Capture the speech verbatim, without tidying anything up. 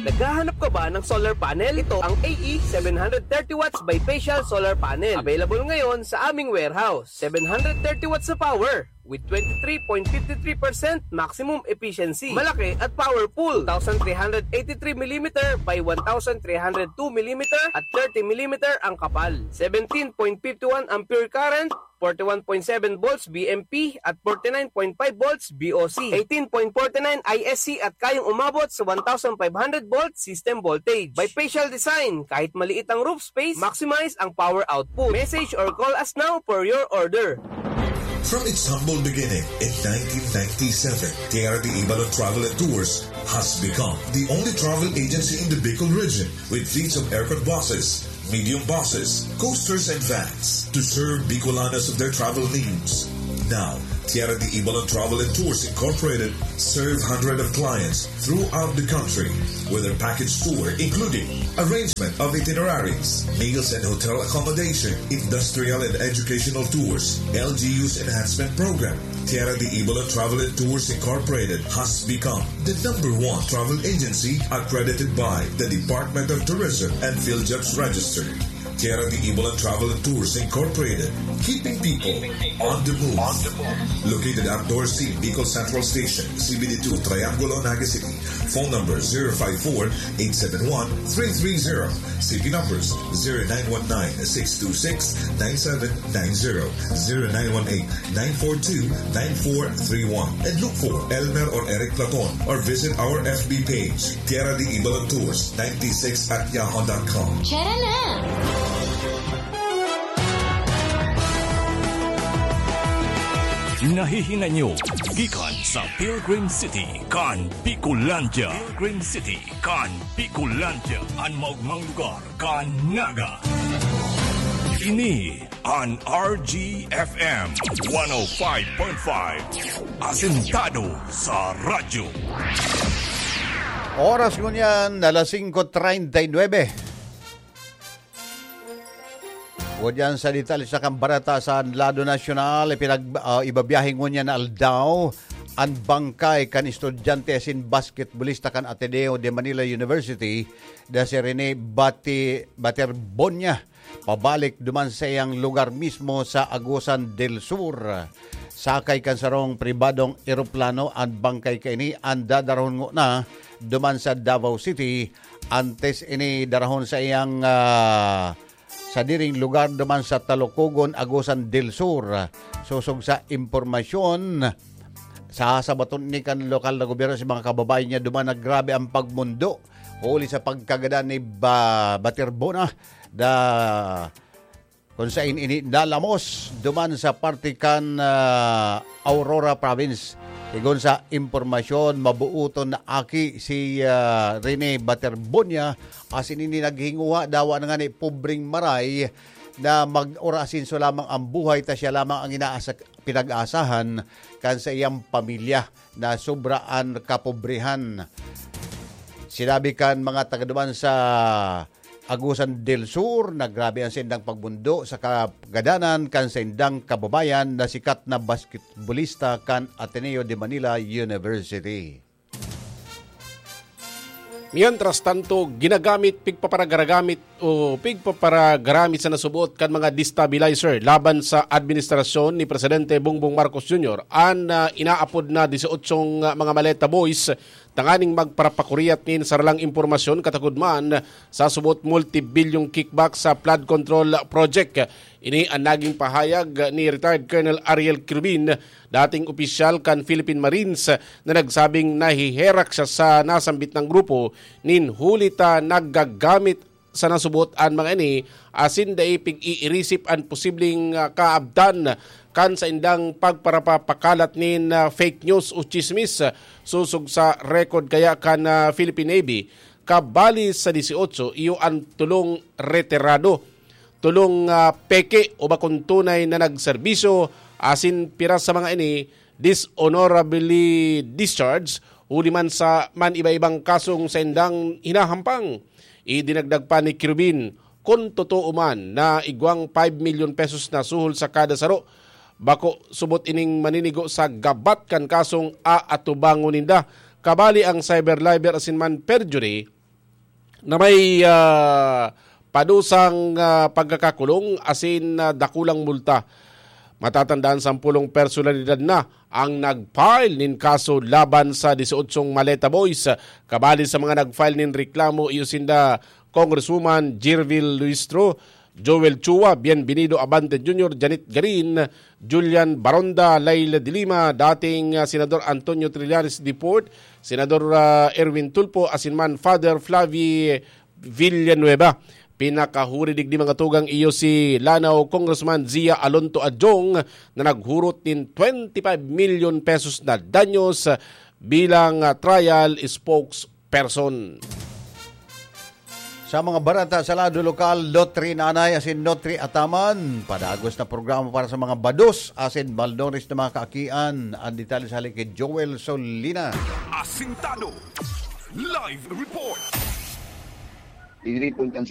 Naghahanap ka ba ng solar panel? Ito ang A E seven hundred thirty watts bifacial solar panel. Available ngayon sa aming warehouse. Seven hundred thirty watts na power with twenty-three point five three percent maximum efficiency. Malaki at powerful. Two thousand three hundred eighty-three millimeter by one thousand three hundred two millimeter at thirty millimeter ang kapal. Seventeen point five one ampere current, forty-one point seven volts V M P at forty-nine point five volts V O C, eighteen point forty-nine I S C at kayang umabot sa one thousand five hundred volt system voltage. Bifacial design, kahit maliit ang roof space, maximize ang power output. Message or call us now for your order. From its humble beginning in nineteen ninety-seven, Tierra de Ibalon Travel and Tours has become the only travel agency in the Bicol region with fleets of aircon buses, medium buses, coasters, and vans to serve Bicolanos of their travel needs. Now, Tierra de Ibalon Travel and Tours Incorporated serve hundreds of clients throughout the country with their package tour, including arrangement of itineraries, meals and hotel accommodation, industrial and educational tours, L G U's enhancement program. Tierra de Ibalon Travel and Tours Incorporated has become the number one travel agency accredited by the Department of Tourism and PhilJobs Register. Tierra de Ibalon Travel and Tours Incorporated, keeping people on the move. Located at Dorsey, Bicol Central Station, C B D two, Triangulo, Naga City. Phone number zero five four, eight seven one, three three zero. C P numbers zero nine one nine, six two six, nine seven nine zero, zero nine one eight, nine four two, nine four three one. And look for Elmer or Eric Platon or visit our F B page, Tierra de Ibalon Tours ninety-six at yahoo dot com. Tara na! Nahihinay nyo gikan sa Pilgrim City kan Bicolandia. Pilgrim City kan Bicolandia, an maogmang lugar kan Naga. Ini an R G F M one oh five point five, asentado sa radyo. Oras ngunyan, alas singko treinta y nuebe. Ngunyan sa detalye sa kan bareta sa lado nasyonal, ipinag, ah, ibabiyahe ngunyan na aldaw an bangkay kan estudyante asin basketbolista kan Ateneo de Manila University na si Rene Bati, Baterbonia, pabalik duman sa iyang lugar mismo sa Agusan del Sur. Sakay kan sarong pribadong eroplano an bangkay kaini, an dadarahon ngona duman sa Davao City, antes ini darahon sa iyang, ah, sadiring lugar duman sa Talukogon, Agusan del Sur. Sosog sa impormasyon, sa sabaton ni kan lokal na gobyerno sa mga kababayan niya duman na grabe ang pagmundo huli sa pagkagadan ni Ba-, Baterbona da kung sain ini nalamos duman sa parte kan, ah, Aurora Province. Sigon sa impormasyon, mabuoton na aki si, ah, Rene Baterbonia, asin ini naghinguha dawa na ngani pobreng maray na mag-orasinso lamang ang buhay, ta siya lamang ang inaasa-, pinag-aasahan kan sa iyang pamilya na sobra an kapobrehan. Sinabi kan mga taga duman sa Agusan del Sur, nagrabe ang saindang pagbundo sa kagadanan kan saindang kababayan na sikat na basketbolista kan Ateneo de Manila University. Mientras tanto, ginagamit, pigpaparagaragamit o pigpaparagaramit sa nasubuot kan mga destabilizer laban sa administrasyon ni Presidente Bongbong Marcos Junior an, ah, inaapod na dieciocho nga mga maleta boys tanganing magparapakuriat nin saralang impormasyon katagod man sa subot multibilyong kickback sa flood control project. Ini an naging pahayag ni retired Colonel Ariel Quirubin, dating opisyal kan Philippine Marines, na nagsabing nahiherak siya sa nasambit na grupo nin huli ta nagagamit sa nasubot an mga ini asin dai pig-iirisip an posibleng, ah, kaabtan kan saindang pagparapapakalat nin, ah, fake news o tsismis. Sosog sa record kaya kan, ah, Philippine Navy, kabali sa dieciocho, iyo an tolong retirado, tolong, ah, peke o bakong tunay na nagserbisyo, asin piras sa mga ini dishonorably discharged huli man sa man iba-ibang kasong saindang hinahampang. Idinagdag pa ni Quirubin, kun totoo man na igwang five milyon pesos na suhol sa kada saro, bako subot ining maninigo sa gabat kan kasong aatubangon ninda, kabali ang cyber libel asin man perjury, na may ah, padusang ah, pagkakakulong asin ah, dakulang multa. Matatandaan, sampulong personalidad na ang nag-file nin kaso laban sa disyotso Maleta Boys. Kabali sa mga nag-file nin reklamo, iyo sinda Congresswoman Jirvil Luistro, Joel Chua, Bienvenido Abante Junior, Janet Garin, Julian Baronda, Laila de Lima, dating ah, Senador Antonio Trillanes Deport, Senador ah, Erwin Tulfo, asin man Father Flavi Villanueva. Pinakahuri digdi, mga tugang, iyo si Lanao Congressman Zia Alonto Adjong na naghurot nin twenty-five million pesos na danyos bilang ah, trial spokesperson. Sa mga bareta sa lado lokal, Lotri Nanay asin Lotri Ataman, padagos na programa para sa mga bados asin malnourished na mga kaakian. Ang detalye sa halin ki Joel Solina. Asintado. Live report. Diri po kan